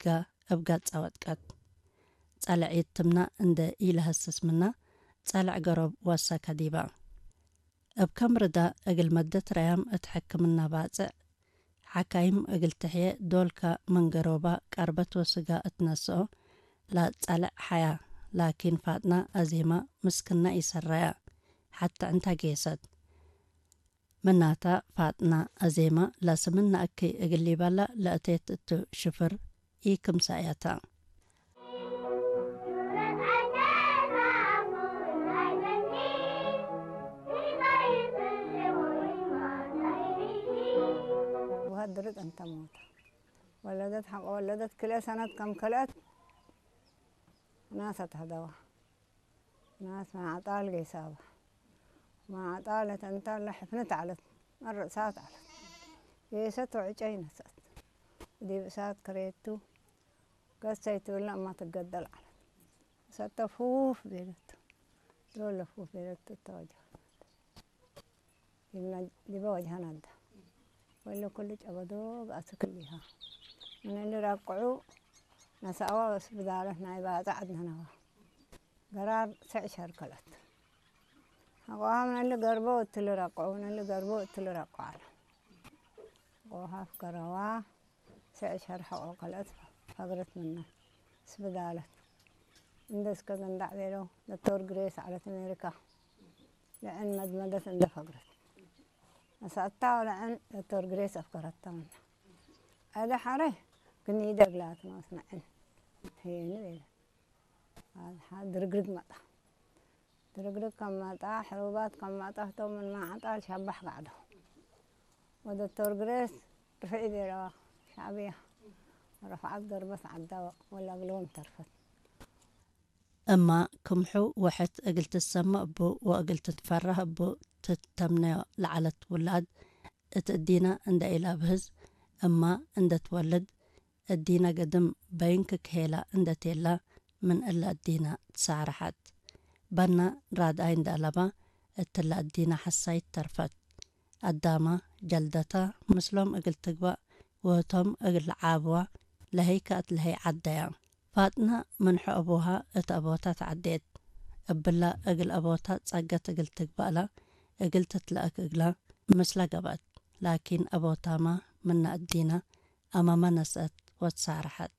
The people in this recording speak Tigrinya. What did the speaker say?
ጋ እብ ጋጻ ወጥቀት። ጸልዕ ይትምና እንደ ኢለሀስስ ምና፣ ጸልዕ ገሮብ ወሰከ ዲባ። እብ ከም ርዳ እግል መደት ረያም እት ሕክምና ባጽዕ፣ ሓካይም እግል ትሕየ ዶልካ ምን ገሮባ ቀርበት ወስጋ እት ነስኦ፣ ላጸልዕ ሓያ፣ ላኪን ፋጥና አዜማ ምስክና ኢሰራያ፣ ሐተ ዕንታ ጌሰት። ምናታ ፋጥና አዜማ ለስምን ነአኪ እግል ሊበላ ለእቴት እቱ ሽፍር ኢክምሰእየታ። وهدرت أنت موتى. ولدت حق ولدت كل سنة كم كلت ناس تهدوا. ናስ ማዕጣል ጌሳባ። ማዕጣል ተንታል ለሕፍነት ዓለት። መርሳት ዓለት። ጌሰት ወዕጨይ ነሰት። ዲብ እሳት ከሬቱ። ገሰይ ትብለ እማ ትገደል ዓለት። ሰተ ፉፍ ቤለቱ። ዶለ ፉፍ ቤለቱ ተወጀ። ዲበ ወጅሃ ናዳ። ወለ ኩሉ ጨበዶ ብኣስክል ኢሃ። ምንሊ ረቅዑ ነሳዋ ወስ ብዳለት ናይ ባጽዕ ኣድነነዋ። ገራር ስዕ ሸርከለት። ሐቆሃ ምንሊ ገርቦ እትሊ ረቅዑ፣ ምንሊ ገርቦ እትሊ ረቅዑ ኣለ። ቆሃፍ ገረዋ ስዕ ሸር ሐቆ ከለት ፈግረት ምና። ስብዳለት። እንደ እስከ ገንዳዕ ቤለው ዶክተር ግሬስ ዓለት ኣሜሪካ። ልዕን መድመደት እንደ ፈግረት። መሳእታ ወለዐን ዶክተር ግሬስ ኣፍከረታ ምና። ኣደ ሓረ ግን ይደግላት ማስናዕን። ሄኒ ቤለ። ኣድሓ ድርግርግ መጣ። ድርግርግ ከም መጣ፣ ሕሩባት ከም መጣ፣ ህቶም ምን ማዕጣል ሸባሕ ጋዕዶ። ወዶክተር ግሬስ ርፍዒ ቤለዋ ሻዕብያ። ረፍዓት ገርበት ዓዳ ወላግለዎም ተርፈት። እማ ክምሑ ወሐት እግል ትሰመ እቡ ወእግል ትትፈረህ እቡ ትተምነዮ ለዐለት ውላድ እት እዲነ እንደ ኢለብህዝ እማ እንደ ትወልድ እዲነ ግድም በይንክ ክሄላ እንደ ቴላ ምን እለ እዲነ ትሳረሐት። በና ራድኣይ እንደ አለባ እትለ እዲነ ሐሳይት ተርፈት። አዳማ ጀልደታ ምስሎም እግል ትግባእ ወህቶም እግል ለዓብዋ ለሀይ ከአት ለሀይ ዐደያ። ፋጥና ምንሖ አቡሃ እት አቦታ ተዐዴት። እብላ እግል አቦታ ጸገት እግል ትግባእላ እግል ትትለአክ እግላ ምስላ ገብአት። ላኪን አቦታማ ምና እዲና አማመ ነስአት ወትሳረሐት።